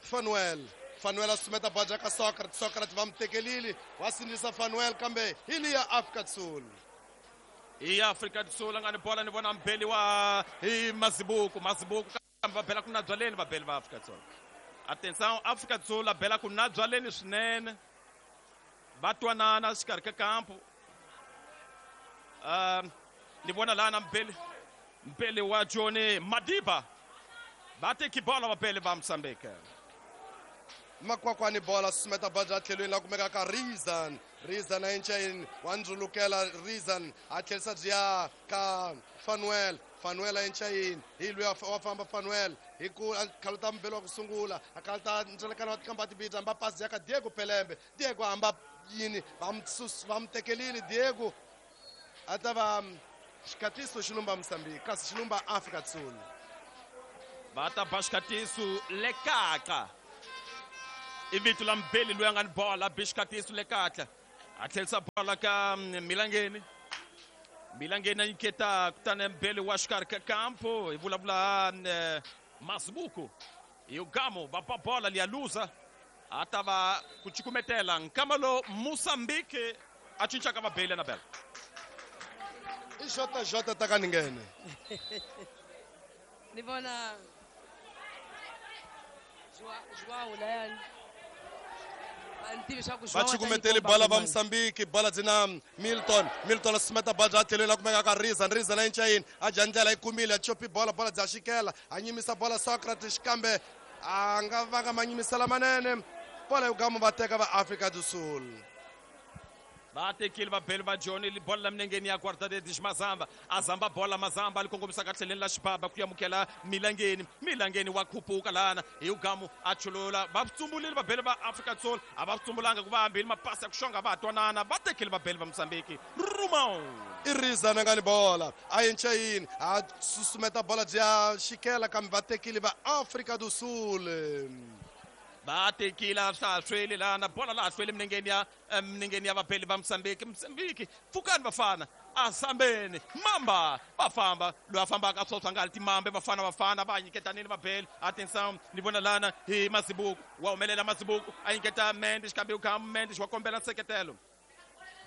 Fanuel, Fanuel a sumeta bola ka Socrates, Socrates va mu tekelile, wa sindzisa Fanuel kambe hi liya Afrika do Sul. Hi Afrika do Sul nga ni bola, ni vona mbeli wa hi Mazibuko, Mazibuko kambe va bela ku na byaleni va beli va Afrika do Sul. Atenção, Afrika do Sul a bela ku na byaleni swinene. Va twanana xikarhi ka kampo. Uh, ni vona lana mbeli, mbeli wa Johnny Madiba. Va teki bola va beli va Mozambique. Makwakwani bola susumeta bola bya tlhelweni la kumeka ka Rizan, Rizan a enceni wa ndzulukela Rizan a tlherisa byi ya ka Fanuel, Fanuel a enceni hi luya wa famba Fanuel hi ku a khaluta mbeli wa ku sungula, a khaluta ndzelekano wa tikamba tibidza hamba pasi ya ka Diego Pelembe, Diego hamba yini va mu va mu tekelile Diego a ta va xikatiso xilumba Mozambique kasi xilumba Afrika do Sul. Va ta ba xikatiso lekaka. I vito la Mbeli loyi a nga ni bola a be xikatiso le kahle a tlherisa bola ka Milangeni. Milangeni a nyiketa kutani Mbeli wa xikarhi ka kampo hi vulavula Masibuku hi Gamo va ba bola liya luza a ta va ku cukumetela nkama lo Mozambique a cincaka vabeli na bela. I J J ta ka ni nghene. Ni vona João layani va cukumeteli bola va Mozambique bola byi na Milton. Milton a susumeta bola bya tlhelweni la kumeka ka Rizan. Rizan a yinca yini a dya ndlela yi kumile a chopi bola bola bya xikela a nyimisa bola Socrates kambe a nga vanga manyimisela manene bola yo gama va teka va Afrika do Sul. Va tekile vabeli va Joni bola la minengeni ya Guarda-Redes Mazamba a zamba bola Mazamba li kongomisa ka tlheleni la xibaba ku amukela Milangeni. Milangeni wa khupuka lana hi Ugamu a chulula va tsumbulile vabeli va Afrika Sul a va tsumbulanga ku va hambile mapasi ya ku xonga va twanana va tekile vabeli va Mozambique. Rumão i Rizana nga ni bola a yinca yini a susumeta bola bya xikela kambe va tekile va Afrika do Sul. Va tekile a swa ha hlweli lana bola laha hlweli minengeni ya minengeni ya vabeli va Mozambique. Mozambique pfukani vafana a sambeni mamba va famba loyi a fambaka a swoswa nga timambe vafana vafana va nyiketanile vabeli. Atenção ni vona lana hi Masibuku wa humelela Masibuku a nyiketa Mendes kambe u Mendes wa kombela nseketelo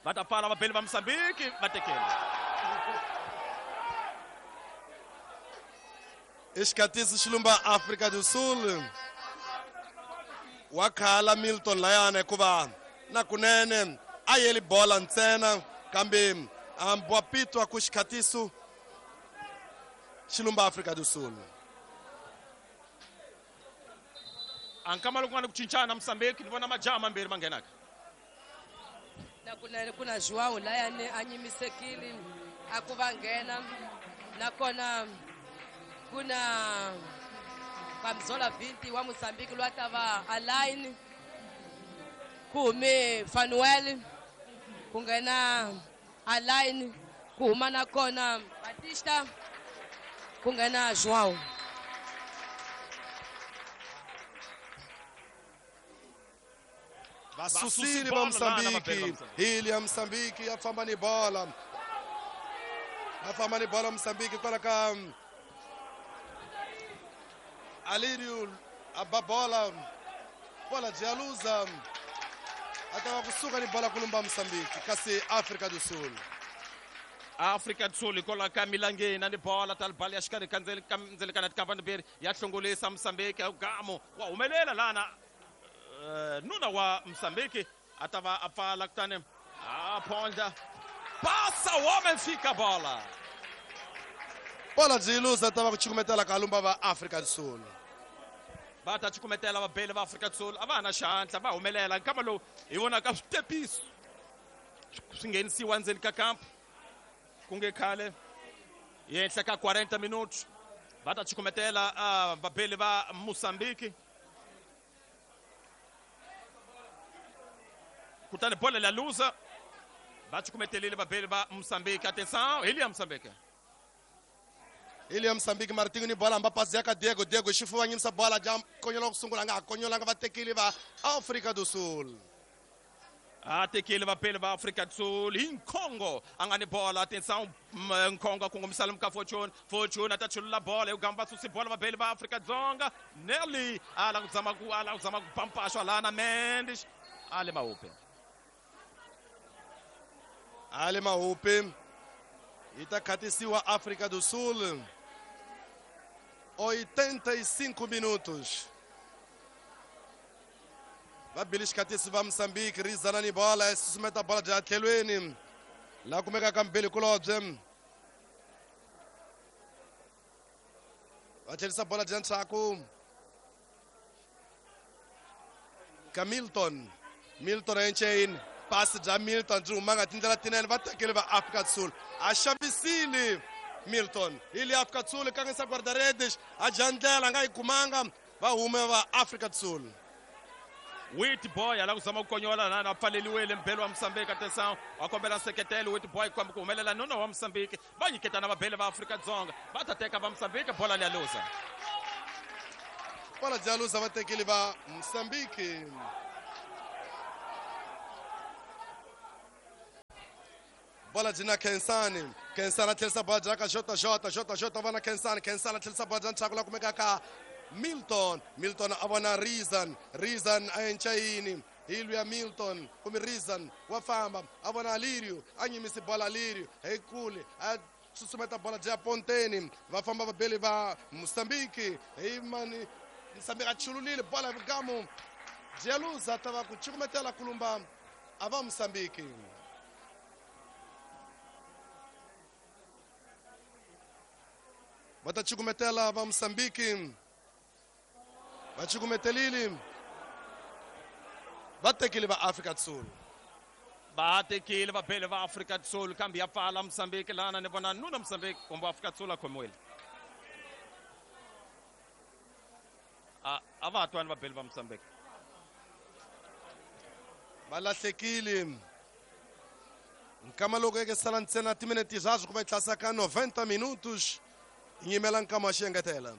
va ta pfala vabeli va Mozambique va tekela. I xikatisi xilumba Afrika do Sul wa khala Milton layana hikuva na kunene a yeli bola ntsena kambe Mbwapito ku xikhatiso xilumba Afrika do Sul. A nkama loko ku nga ni ku cincana Mozambique ni vona majaha mambirhi ma nghenaka. Na kunene ku na João layani a nyimisekile a ku va nghena nakona ku na Kamzola Vinti wa Mozambique loyi a ta va align ku hume Fanuel ku nghena align ku huma nakona Batista ku nghena João. Va susile va Mozambique hili ya Mozambique ya famba ni bola ya famba ni bola Mozambique kwala ka Alirio a bola bola de Luza atava kusuka ni bola kulumba Mozambique kasi Afrika do Sul. Afrika do Sul ikola ka Milangeni ni bola talibali ya xikarhi ka ndzelikana tikavani ya hlongolisa Mozambique Gamo wa humelela lana nuna wa Mozambique atava a pfala kutani a phondla passa o homem fica bola. Bola de Luza atava ku cukumetela ka lumba va Afrika do Sul. Va ta cukumetela vabeli va Afrika do Sul a va ha na xihantla va humelela nkama lowu hi vonaka switepiso swi nghenisiwa ndzeni ka kampo ku nge khale henhla ka quarenta minutos va ta cukumetela vabeli va Mozambique kutani bola la luza va cukumetelile vabeli va Mozambique. Atenção ili ya Mozambique ili ya Mozambique Martinho ni bola amba pasi ya ka Diego. Diego xifuva nyimisa bola ja konyola ku sungula nga konyolanga va tekile va Afrika do Sul. A tekile vapeli va Afrika do Sul hi Nkhongo a nga ni bola. Atenção Nkhongo a kongomisa lomu ka Fortune. Fortune a ta chulula bola hi gamba susi bola vapeli va Afrika Dzonga. Nelly a la ku zama ku a la ku zama ku pampashwa lana Mendes a le Mahupe. A le Mahupe yi ta khatisiwa Afrika do Sul. oitenta e cinco minutos. Va bile xikhatisi va Mozambique Rizana ni bola susumeta bola bya tlhelweni la kumeka ka Mbeli kulobye va tlherisa bola bya ndzhaku ka Milton. Milton Enchain pasi bya Milton byi humanga tindlela tinene va tekele va Afrika do Sul a xavisile Milton ili Afrika do Sul kangisa guarda-redes a dya ndlela a nga yi kumanga va hume va Afrika do Sul. Wit Boy ala ku zama ku konyola lana a pfaleliwile mbeli wa Mozambique. Atenção wa kombela nseketelo Wit Boy ku humelela nuna wa Mozambique va nyiketana vabeli va Afrika Dzonga va ta teka va Mozambique bola liya luza. Bola dya luza vatekeli va Mozambique. Bola dyi na Khensani. Khensani a tlherisa bola dya ka Jota Jota Jota Jota vona Khensani. Khensani a tlherisa bola dya ntshaku la kumeka ka Milton. Milton a vona Reason. Reason a enca yini? Hi luya Milton kumbe Reason wa famba a vona Alirio a nyimisi bola Alirio hi kule a susumeta bola dya Ponteni va famba vabeli va Mozambique hi mani Mozambique a chululile bola hi vugamu Jeluza ta va ku cukumetela kulumba a va Mozambique. Va ta cukumetela va Mozambique va cukumetelile va tekile va Afrika Sul. Va tekile va bele va Afrika Sul kambe ya pfala Mozambique lana ni vona nuna Mozambique kumbe Afrika Sul a khomiwile. A a va twani va bele va Mozambique. Va lahlekile. Nkama loko eke sala ntsena timinete zazwo ku va yi tlasa ka noventa minutos nyimela nkama wa xiengetela.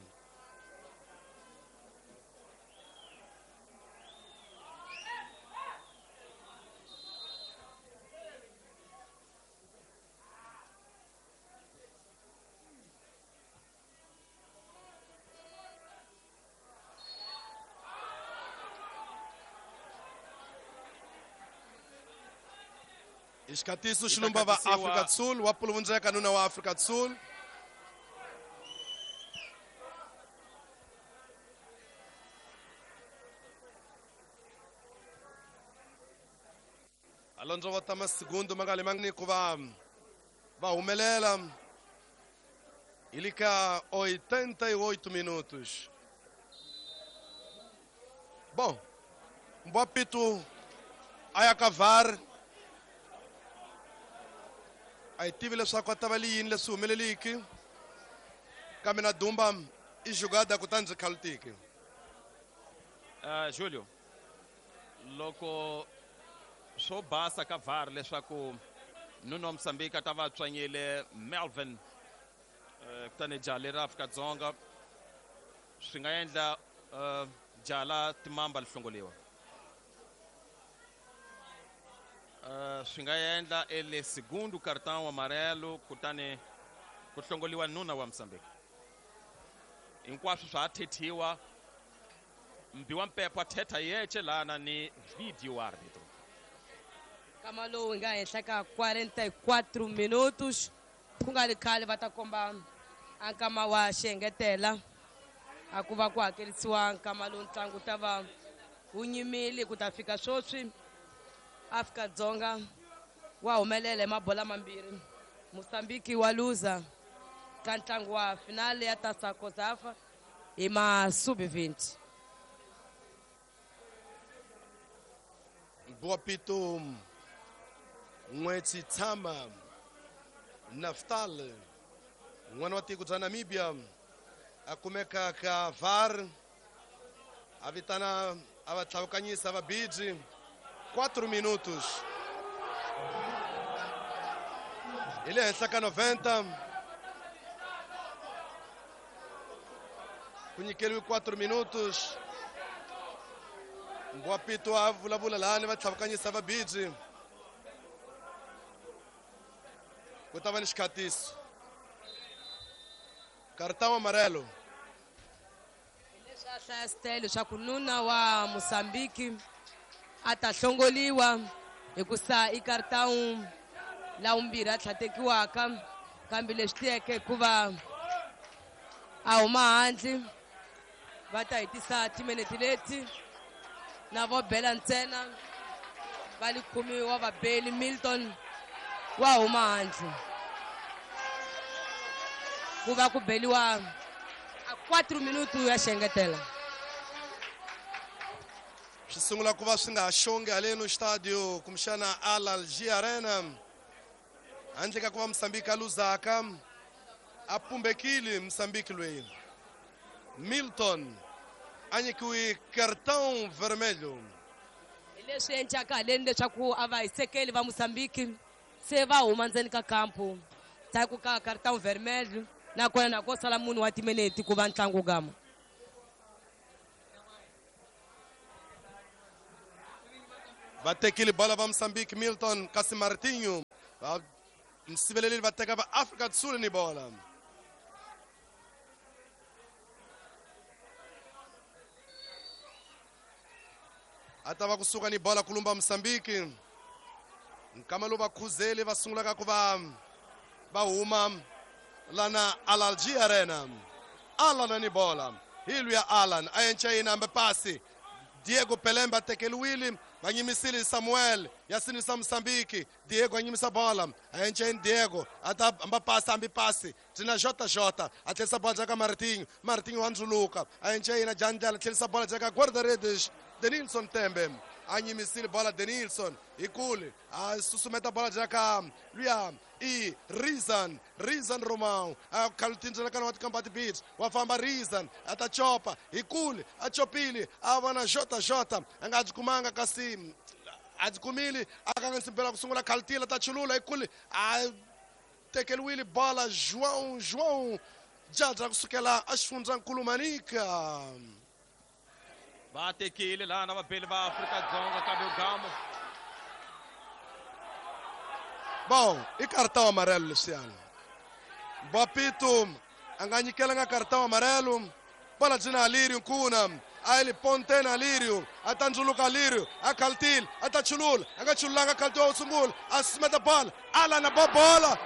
Xikatiso xilumba va Afrika Sul wa puluvundzeka nuna wa Afrika Sul. Alonso va tama segundo mangali mangni ku va va humelela ili ka oitenta e oito minutos. Bom, Mbapito a ya ka V A R. A hi tivi leswaku a ta va li yini leswi humeleliki kambe na Dumba i jugada kutani byi khalutiki. Uh, Julio, loko swo basa ka V A R leswaku nuna wa Mozambique a ta va tswanyile Melvin uh, kutani jaha leri Afrika-Dzonga swi nga endla uh, jaha la timamba li hlongoliwa. Uh, swi nga endla ele segundo cartão amarelo kutani ku hlongoliwa nuna wa Mozambique. Hinkwaswo swa ha thethiwa mbi wa mpepho a thetha yeche lana ni video árbitro. Nkama lowu hi nga henhla ka quarenta e quatro minutos ku nga ri khale va ta komba a nkama wa xiengetela a ku va ku hakerisiwa nkama lowu ntlangu ta va wu nyimile ku ta fika sweswi. Afrika-Dzonga wa humelela hi mabola mambirhi Mozambique wa luza ka ntlangu wa finale ya Taça COSAFA hi ma sub vinte. Boapito N'wetsi Tshama Naftal n'wana wa tiko bya Namibia a kumeka ka V A R a vitana a va tlhavukanyisa va biji quatro minutos. Hi le henhla ka noventa ku nyikeriwe quatro minutos. Mbwapito a vulavula lani va tlhavukanyisa va biji ku ta va ni xikhatiso cartão amarelo. Leswi a hlaya style leswaku nuna wa Mozambique a ta hlongoliwa hikusa i cartão la vumbirhi a tlhatekiwaka kambe leswi tiyeke hikuva a huma handle va ta hetisa timinete leti na vo bela ntsena va li khumiwa wa vabeli Milton wa huma handle ku va ku beliwa a quatro minuto ya xengetela. Swi sungula ku va swi nga ha xongi haleno stadio kumbexana Al Algi Arena handle ka ku va Mozambique a luzaka a pumbekile Mozambique loyi Milton a nyikiwe cartão vermelho. Hi leswi endlaka haleni leswaku a va hisekeli va Mozambique se va huma ndzeni ka kampu ndzhaku ka cartão vermelho nakona na ko sala munhu wa timinete ku va ntlangu gama. Va tekile bola va Mozambique Milton kasi Martinho va msiveleli va teka va Afrika do Sul ni bola. A ta va kusuka ni bola kulumba Mozambique. Nkama lowu vakhuzeli va sungulaka ku va va huma lana Alalji Arena. Alan ni bola. Hi luya Alan a yenca yini hambe pasi. Diego Pelemba tekeliwile va nyimisile Samuel ya sinisa Mozambique. Diego a nyimisa bola a yenca yini Diego a ta hamba pasi hambi pasi tina J J a tlherisa bola jaka Martinho. Martinho wa ndzuluka a yenca yini Jandlela tlherisa bola jaka guarda-redes Denilson Tembe a nyimisile bola Denilson hi kule a susumeta bola jaka luya i Rizan Rizan Romão a khalutindzela kana wa tikambati beach wa famba Rizan a ta chopa hi kule a chopile a vona J J a nga byi kumanga kasi a byi kumile a kanganyisa ku sungula khalutila ta chulula hi kule a tekeliwile bola João João Jadra kusukela a xifundzankulu Manica. Va tekile lana vabeli va Afrika-Dzonga kambe Ugamo. Bom, i cartão amarelo leswiyani. Bapito a nga nyikelanga cartão amarelo. Bola byi na Alirio Nkuna. A ele pontena Alirio, a ta ndzuluka Alirio, a khalutile, a ta chulula, a nga chululanga khalutiwa wo sungula, a susumeta bola, Alan a ba bola.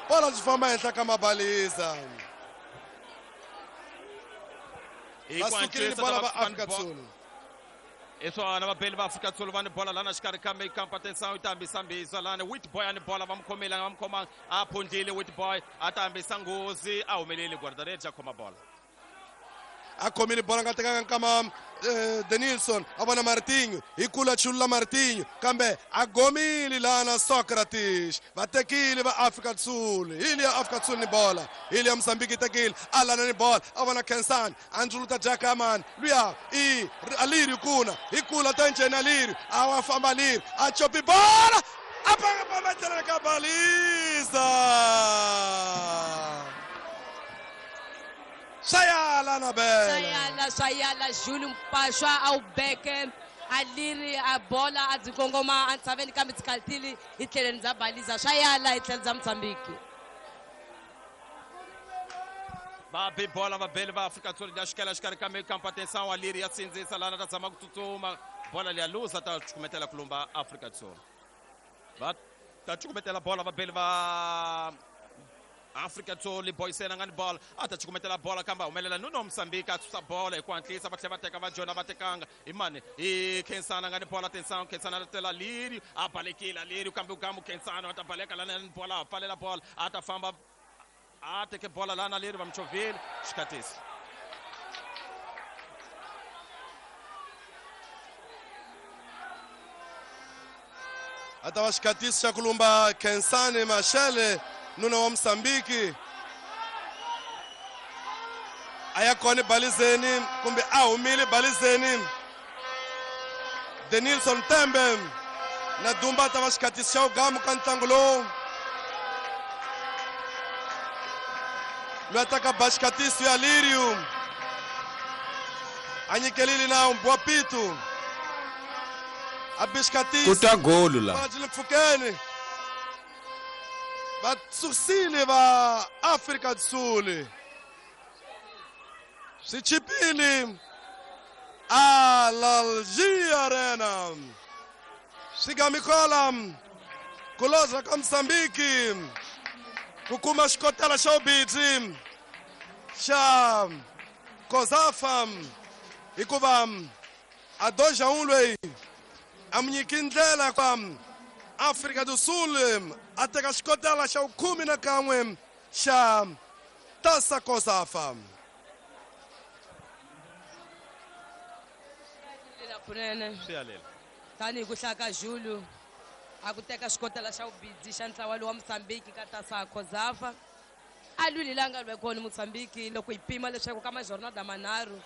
Bola byi famba henhla ka mabaliza. Hi ku Va sukile ni antswisa bola lava va Afrika va- do Sul. Hi swona vabeli va Afrika Sul va ni bola lana xikarhi ka mikampa atenção yi ta hambisa mbisa lana Witboy a ni bola va mu khomile va mu khomanga a phundlile Witboy a ta hambisa nghozi a humeleli guarda-redes a khoma bola. A khomile bola nga tekanga nkama eh, Denilson a vona Martinho hi kula chulula Martinho kambe a gomile lana Socrates va tekile va Afrika do Sul. Hi liya Afrika do Sul ni bola hi liya Mozambique yi tekile Alana ni bola a vona Kensani a ndzuluta Jakaman luya i Alirio kuna hi kula ta njheni Alirio a wa famba Alirio a chopi bola a panga pamba ka baliza. Swayala na bele. Swayala swayala Júlio Mpaxwa a wu beke Aliri a bola a byi kongoma entshaveni kambe byi khalutile hi tlhelweni bya baliza swayala hi tlhelo bya Mozambique. Va bi bola vabeli va Afrika-Dzonga ya xikela xikarhi ka mikampa atenção Aliri ya sindzisa lana ta tshama ku tsutsuma bola liya luza ta cukumetela kulumba Afrika-Dzonga. Va ta cukumetela bola vabeli va Afrika Sul Boysen a nga ni bola a ta cukumetela bola kambe a humelela Nuno Mozambique a susa bola hi ku hatlisa va tlhela va teka va jona va tekanga hi mani hi Khensani a nga ni bola atenção Khensani a tela Lirio a balekile Lirio kambe ugamu Khensani a ta baleka lana ni bola a pfalela bola a ta famba a teke bola lana Lirio va muchovhile xikatisi. A ta va xikatisi xa kulumba Khensani Mashele nuna wa Mozambique a ya kona balizeni kumbe a humile balizeni Denilson Tembe na Dumba ta va xikatisi xa ugamu ka ntlangu lowu loyi a taka ba xikatisi ya Lirio a nyikelile na Mbwapito a bi xikatisi ku ta golu la. Bola byi le mpfhukeni va susile va Afrika do Sul swi chipile Alalji Arena swigamikola ku loza ka Mozambique ku kuma xikotela xa vubidzi xa Kozafa hikuva a doja un loyi a mu nyiki ndlela kwa Afrika do Sul a teka xikotela xa vukhume na kan'we xa Tasa Kozafa. Kunene Swi yalela. Tanihi ku hlaya ka Júlio a ku teka xikotela xa vubidzi xa ntlawa lowu wa Mozambique ka Tasa Kozafa a lwile la nga lwe kona Mozambique loko hi pima leswaku ka majornada manharhu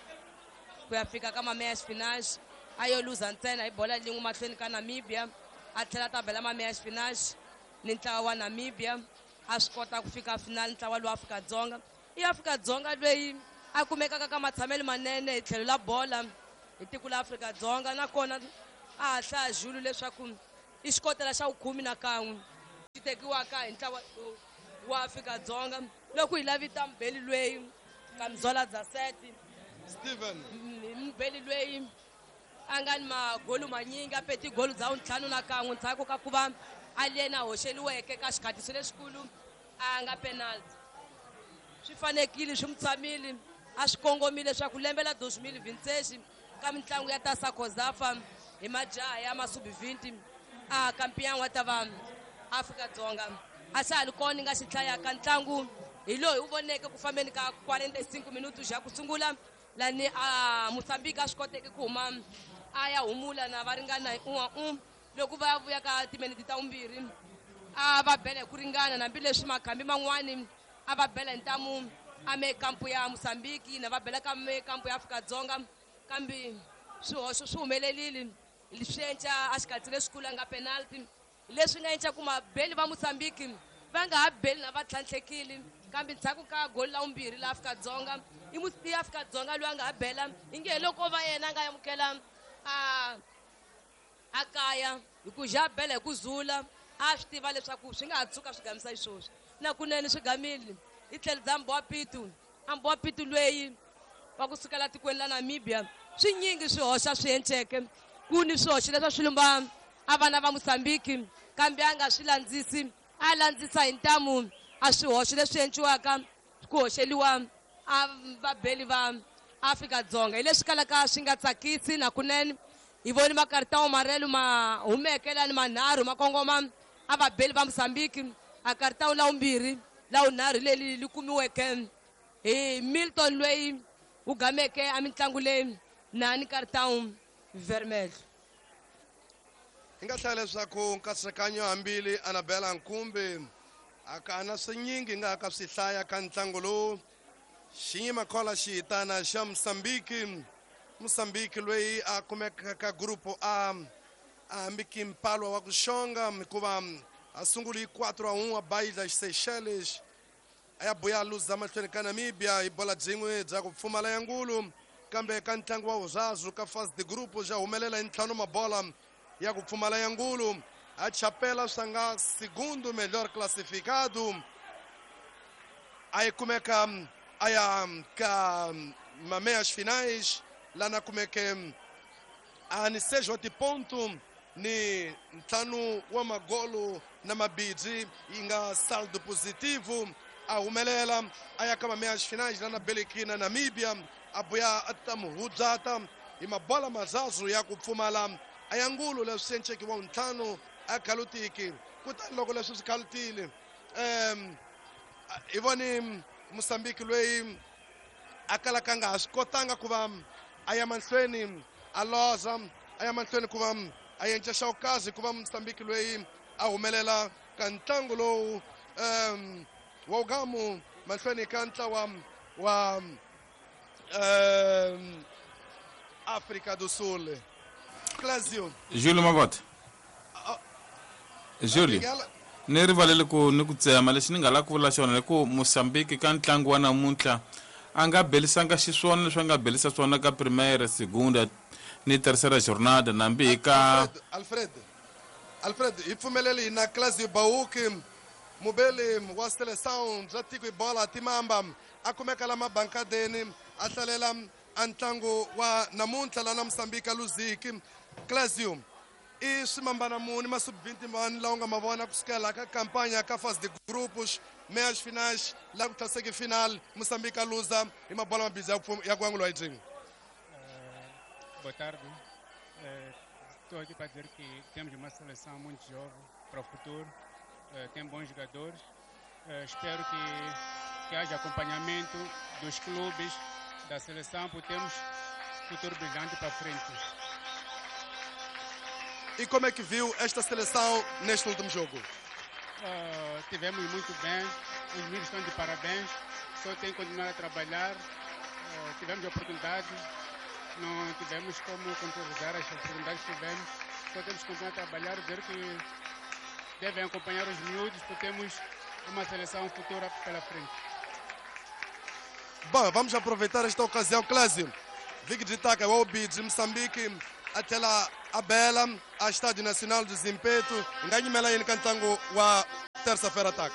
ku ya fika ka mameyas finais a yo luza ntsena hi bola lin'we mahlweni ka Namibia a tlhela ta bela mameyas finais ni ntlawa wa Namibia a swi kota ku fika final ntlawa lowu Afrika-Dzonga i Afrika-Dzonga loyi a kumekaka ka matshamelo manene hi tlhelo la bola hi tiko la Afrika-Dzonga nakona A ha hlaya Julu leswaku i xikotela xa vukhume na kan'we xi tekiwaka hi ntlawa wa Afrika-Dzonga loko hi lavita mubeli lweyi Kamzola Zaseti Steven mubeli lweyi a nga ni magolu manyingi a pe tigolu dza ntlhanu na kan'we ndzhaku ka ku va a yena hoxeliweke ka xikhatiso lexikulu a nga penalty swi fanekile swi mu tshamile a swi kongomile leswaku lembe la dos mil vinte ka mitlangu ya Taça COSAFA hi majaha ya masubi vinte a kampiyan wa ta va Afrika-Dzonga a xa ha li kona nga xi hlayaka ntlangu hi loyi u voneke ku fambeni ka quarenta e cinco minutos ya ku sungula lani a Mozambique a swi koteke ku huma a ya humula na va ringana hi un'we un'we loko va ya vuya ka timinete ta vumbirhi a va bela hi ku ringana hambileswi makhambi man'wani a va bela hi ntamu a me kampu ya Mozambique na va bela ka me kampu ya Afrika-Dzonga kambe swihoxo swi humelerile swi enca a xikatsi lexikulu a nga penalty leswi nga enca ku mabeli va Mozambique va nga ha beli na va tlhantlhekile kambe ndzhaku ka goli la vumbirhi la Afrika-Dzonga i i Afrika-Dzonga loyi a nga ha bela inge hi loko va yena a nga amukela a a kaya hi ku ja bela hi ku zula a swi tiva leswaku swi nga ha tshuka swi gamisa xisweswo na kunene swi gamile hi tlhelo bya Mboapitu a Mboapitu loyi wa kusukela tikweni la Namibia swinyingi swihoxa swi enceke ku ni swihoxo leswi swi lumba a vana va Mozambique kambe a nga swi landzisi a landzisa hi ntamu a swihoxo leswi enciwaka ku hoxeliwa a vabeli va Afrika-Dzonga hi leswi kalaka swi nga tsakisi na kunene hi voni makaritawo marelo ma humeke lani manharhu ma kongoma a vabeli va Mozambique a karitawo la vumbirhi la vunharhu leri li kumiweke hi Milton loyi wu gameke a mitlangu leyi na ni karitawo vermelho. Hi nga hlaya leswaku nkatsakanyo hambili Annabella Nkumbi a ka na swinyingi nga ka swi hlaya ka ntlangu lowu xinyima khola xihitana xa Mozambique Mozambique loyi a kumeka ka grupo A a hambiki mpalwa wa ku xonga hikuva a sunguli hi quatro a um a Baía Seychelles a ya buya luza mahlweni ka Namibia hi bola byin'we bya ku pfumala ya ngulu kambe ka ntlangu wa vurazu ka fase de grupo ja humelela hi ntlhanu mabola ya ku pfumala ya ngulu a chapela swa nga segundo melhor classificado a yi kumeka a ya ka mameias finais lana kumeke a ni seis wa tiponto ni ntlhanu wa magolo na mabidzi yi nga saldo positivo a humelela a ya ka mameias finais lana beleki na Namibia a buya a ta muhudzata hi mabola mazazu ya ku pfumala a ya ngulu leswi enceki wa ntlhanu a khalutiki kutani loko leswi swi khalutile um hi voni Mozambique loyi a kalaka nga ha swi kotanga ku va a ya mahlweni a loza a ya mahlweni ku va a yenca xawukazi ku va Mozambique loyi a humelela ka ntlangu lowu um wa ugamu mahlweni ka ntlawa wa um África do Sul. Clésio. Júlio Mavota. Júlio. Ni rivalele ku ni ku tsema lexi ni nga lava ku vula xona hi ku Mozambique ka ntlangu wa namuntlha a nga belisanga xiswona leswi a nga belisa swona ka primeira, segunda ni terceira jornada nambi hi ka Alfred Alfred hi pfumeleli hina Clésio Bauki mubeli wa seleção bya tiko hi bola timamba a kumeka la mabankadeni a hlalela a ntlangu wa namuntlha lana Mozambique a luziki. Clésio i swimambana muni masubvinti mani lawa u nga ma vona kusukela ka kampanya ka fase de grupos meias finais la ku tlhaseki final Mozambique a luza hi mabola mabidzi ya ku angula hi byin'we. Boa tarde. Estou aqui para dizer que temos uma seleção muito jovem para o futuro, tem bons jogadores. Espero que, que haja acompanhamento dos clubes, da seleção, porque temos futuro brilhante para frente. E como é que viu esta seleção neste último jogo? Uh, tivemos muito bem, os meninos estão de parabéns, só tem que continuar a trabalhar. Uh, tivemos oportunidade, não tivemos como concretizar as oportunidades que tivemos, só temos que continuar a trabalhar, dizer que devem acompanhar os miúdos, porque temos uma seleção futura pela frente. Bom, vamos aproveitar esta ocasião, Clésio. Vic de Itaca, o Obi de Moçambique, até lá a bela a Estádio Nacional do Zimpeto. Hi nga nyimela yini ka ntlangu wa terça-feira taka?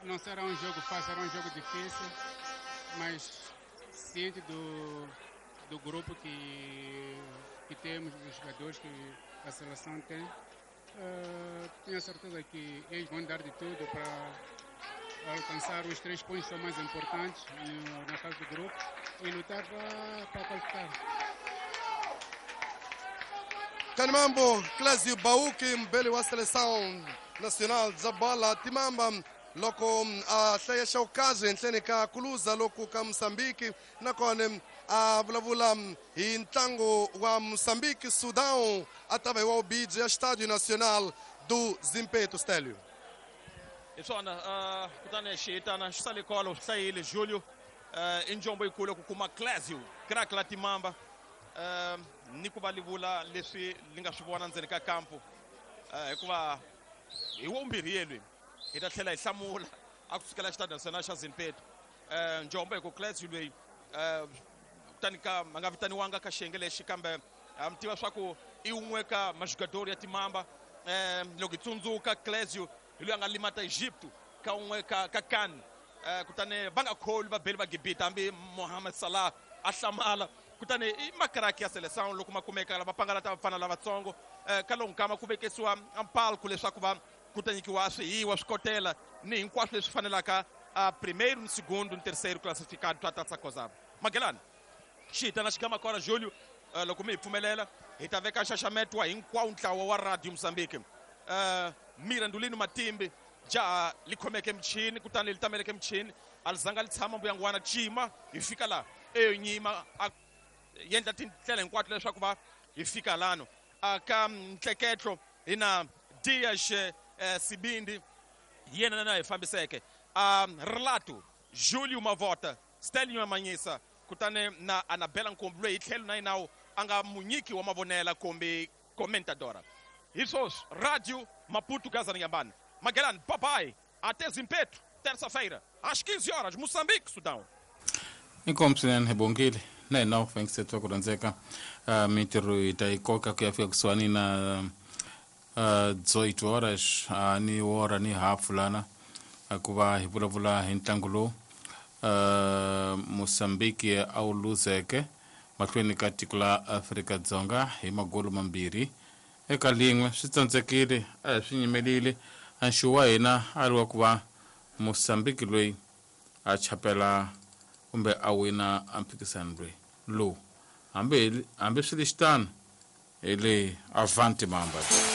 Não será um jogo fácil, será um jogo difícil, mas ciente do, do grupo que, que temos, dos jogadores que a seleção tem, uh, tenho a certeza que eles vão dar de tudo para alcançar os três pontos que são mais importantes no, na fase do grupo e lutar para, para qualificar. Kanimambo, Clésio Bauki, mbeli wa seleção nacional za bola Timamba loko a hlaya xawukazi henhleni ka kuluza loko ka Mozambique nakona a vulavula hi ntlangu wa Mozambique Sudão a ta va hi wa ubiji ya Estádio Nacional do Zimpeto. Stélio. Hi swona kutani xihitana xi sale kolo swi hlayile Julio i njombo yikulu ku kuma Clésio crack la Timamba ni ku va livula leswi li nga swi vona ndzeni ka kampo hikuva hi wumbirhi yelweni hi ta tlhela hi hlamula a ku sukela Xitadi Nacional xa Zimpeto. Njombo hi ku Clésio loyi kutani ka a nga vitaniwanga ka xiyenge lexi kambe mi tiva swa ku i wun'we ka majugadori ya Timamba. Loko hi tsundzuka Clésio hi loyi a nga limata Egipto ka wun'we ka ka CAN, kutani va nga kholi va beli va Gibita hambi Mohamed Salah a hlamala. Kutani i makaraki ya seleção loko ma kumeka lava pangalata vafana lavatsongo ka lowu nkama ku vekesiwa mpalku leswaku va ku ta nyikiwa swihiwa swikotela ni hinkwaswo leswi fanelaka a primeiro, no segundo, no terceiro classificado swa Taça Kozaba. Magelani xihitana xigama kona Julio, loko mi hi pfumelela hi ta veka nxaxameto wa hinkwawo ntlawa wa Radio Mozambique. Mirandulino Matimbi jaha li khomeke michini kutani li tameleke michini a li zanga li tshama mbuyangwana cima hi fika laha eyo nyima a yendla tindlela hinkwato leswaku va hi fika lano. Ka ntleketlo hi na Dias Sibindi yena na hi fambiseke Relato Julio Mavota Stelio Manyisa kutani na Anabela Nkombi loyi hi tlhelo na yinawo a nga munyiki wa mavonela kumbe comentadora. Hi swoswi Radio Maputo Gaza Nyambane. Magelani, bye bye. Até Zimpeto, terça-feira, às quinze horas, Moçambique, Sudão. Inkomu swinene hi bongile na hina u fanekisetiwa ku rhandzeka mintirho hi ta yi koka ku ya fika kusuhani na dezoito horas ni wora ni hafu lana ku va hi vulavula hi ntlangu lowu Mozambique a wu luzeke mahlweni ka tiko la Afrika-Dzonga hi magolo mambirhi eka lin'we. Swi tsandzekile a hi swi nyimelile nxu wa hina a ri wa ku va Mozambique loyi a chapela kumbe a wina a mphikisano loyi lowu hambi hambi swi ri xitano hi le Avanti Mamba.